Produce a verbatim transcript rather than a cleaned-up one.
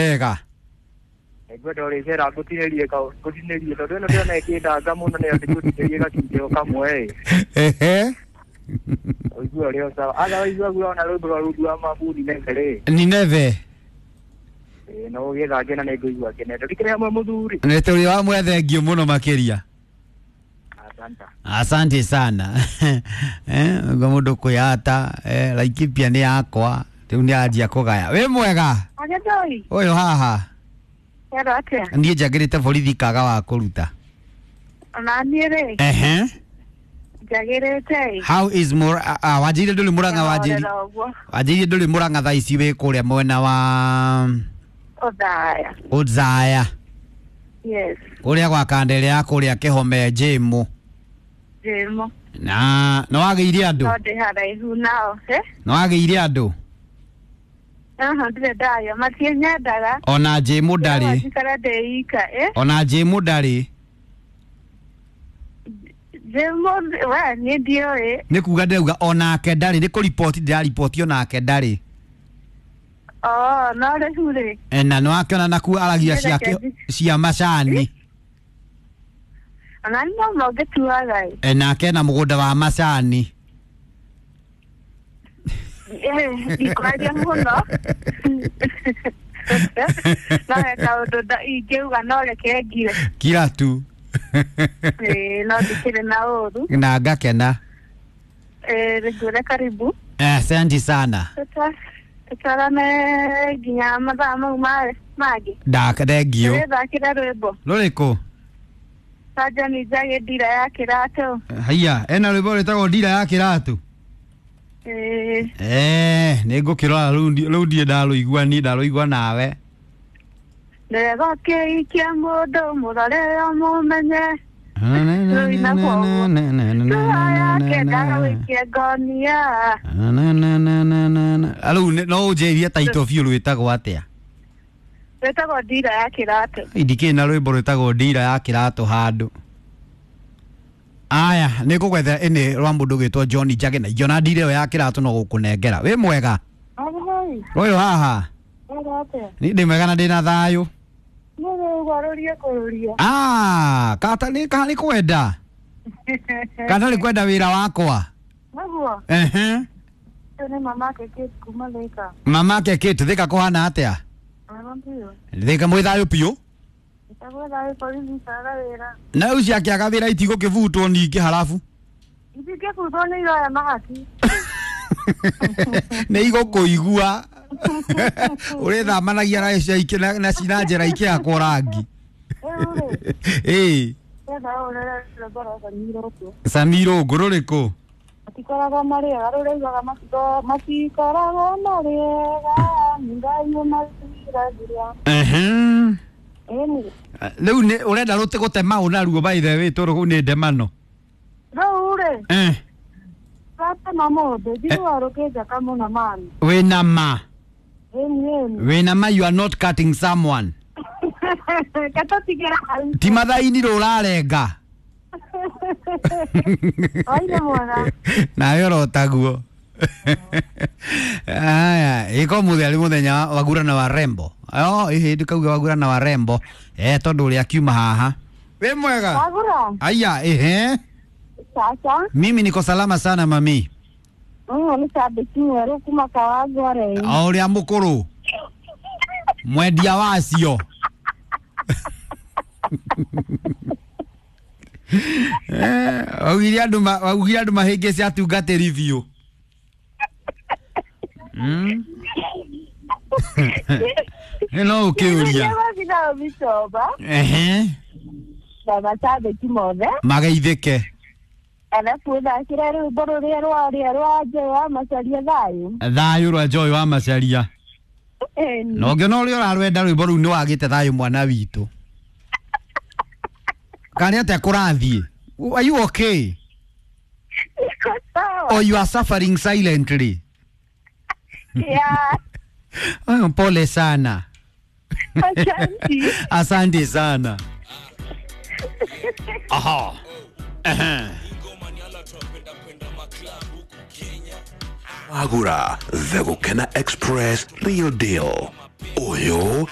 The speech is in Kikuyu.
Hega. Ngwenda ũrĩcera ngũtinĩrie ka ngũtinĩrie tondũ ĩno ndĩrona ĩkĩndanga mũno nĩyo ndĩgũtinĩrie gacunjĩ o kamwe ĩ. Ehe. Ũigue ũrĩa sawa. Otherwise waigua ona rwĩmbo rwa rungu wa mabu Nineve rĩ. Nineve. Ĩĩ no ũgĩthange na nĩngũigua ngenete. Ndikĩrĩ hamwe mũthuri. Nĩ tũrĩ wa mwethengio mũno makĩria. Asante. Asante sana. Eh, ngo mũndũ kwĩyata, eh, Laikipia nĩ yakwa, rĩu nĩ anjia kũgaya. Wĩ mwega? Agĩthoi, Ũyũ haha. werwo atĩa? Niĩ njagĩrĩte borithi kaga wa kũruta. Ona niĩ rĩ, Ehe. njagĩrĩte ĩ. How is Mur ah, ah, wanjĩire ndũrĩ Murang'a wanjĩire. Ngahorera ũguo. Wanjĩire ndũrĩ Murang'a thaa ici wĩ kũrĩa mwena wa Othaya. Othaya. Yes, Kũrĩa gwa kandere ya kũrĩa Kĩhome Jĩmũ. Jĩmũ. Na nĩ wagĩire andũ? No ndĩ haraihu nao. Eh? Nĩ wagĩire andũ? Aha, ndirĩ ndagĩa. Matienyendaga. Ona Jĩmũ ndarĩ. Njikara ndĩ ika, eh? Ona Jĩmũ ndarĩ. Jĩmũ, we, niĩ ndiũĩ. Nĩ kuga ndĩrauga onake ndarĩ, nĩ kũriboti ndĩrariboti onake ndarĩ. Oh, no rĩu rĩ. E, na nĩ wakĩona nakuo aragia cia Nĩreke cia macani. Ona nĩ no mangĩtuaga ĩ. E, nake na mũgũnda wa macani. Eh, ndikwaria mũno. No he kaũndũ nda- ingĩuga no reke ngire. Kira tu. Ĩĩ, no ndikĩrĩ na ũru. Na ngakena. Eh, ngwĩre karibu. Asante sana. Tuta- tutwarane nginya mathaa mau ma- mangĩ. Ndaka thengio. Tũgĩthakĩre rwĩmbo. Rũrĩkũ? Sajani Njagĩ ndira ya kĩratũ. Haiya, ena rwĩmbo rwĩtagwo ndira ya kĩratũ. Ĩĩ, Eh, nĩ ngũkĩrora rĩu ndi- rĩu ndirĩ ndarũigua niĩ ndarũigua nawe. ndĩrega kĩikia mũndũ mũrore ũmũmenye. Rũina kwoguo. Tua yake ndagagũikie ngonia. Rĩu nĩ- no ũnjĩrie taito biũ rwĩtagwo atĩa? Rwĩtagwo ndira ya kĩratũ. Ndikĩrĩ na rwĩmbo rwĩtagwo ndira ya kĩratũ handũ. Aya, nĩ ngũgwethera ĩnĩ rwa mũndũ ũgwĩtwo John Njage na ingĩona ndira ĩyo ya kĩratũ no gũkũnengera. Wĩ mwega? Ahoi, Ũyũ haha. werwo atĩa? Niĩ ndĩ mwega na ndĩna thayũ. Nĩ rĩu kũrũria. Ah, kata nĩ ka nĩ kwenda. Kana nĩ kwenda wĩra wakwa. Naguo, Ehe. ũyũ nĩ mama ake Kate kuma Thika. Mama ke Kate Thika kũhana atĩa? Wega biũ. Thika mwĩ thayũ biũ. Njagwo thayũ borithi caga wĩra. Na rĩu ciakĩaga wĩra itigũkĩbutwo ningĩ harabu. Itingĩbutwo nĩ iroya mahaki. Nĩ igũkũigua. Ũrĩthamanagia na cia ikĩ na na ci- na njĩra ikĩhakwo rangi. Rĩu rĩ, Ĩĩ. ndĩrenda ũrore rwĩmbo rwa Samira ũguo. Samiro ngũrũrĩkũ? Matikoragwo marĩ ega, rũrĩa raugaga matiko- matikoragwo marĩ ega, nĩ Ngai ũmathiragia. Ehe. Ĩni, Rĩu nĩ ũrenda rũtĩ gũtema ũ naruo by the way tondũ kũu nĩ ndemano. rĩu rĩ, Eh. ratema mũndũ, njiguaga rũkĩnjaka mũno mami. Wĩna ma. Ĩni, ĩni. Wĩna ma you are not cutting someone. Reke tũtigĩre hau. Ti mathaini rũrarenga. Waire mwega. Nawe ũrotaguo. Aya, ĩko mũthenya arĩ mũthenya wa wagurana wa rembo. Oh, ĩhĩ ndikauga wagurana wa rembo. Eh, tondũ ũrĩa akiuma haha. Wĩ mwega? Wagura? Aya, ehe. Sasa, Mimi niko salama sana mami. ũyũ nĩ cambĩki mwerũ kuma Kawangware. O ũrĩa mũkũrũ. Mwendia wacio. Eh, waugire andũ ma- waugire andũ mahĩngĩce atungatĩri biũ. Mm. No ũkĩũria. Nĩgũthiĩ mĩcoba Ehe. na macambĩki mothe Mageithĩke. arabu thakĩra rwĩmbo rũrĩa rwarĩa rwa Joy wa Macharia thayũ. Thayũ rwa Joy wa Macharia. Ĩni. Na ũngĩona ũrĩa ũrarwenda rwĩmbo rũu nĩ wagĩte thayũ mwana witũ. Kana nĩ atĩa kũrathiĩ? Are you okay? Niko sawa. Or you are suffering silently? Yeah. Oh, pole sana. Asante. Asante sana. Aha. Ehe. Wagura, the Gukena Express, real deal. Ũyũ.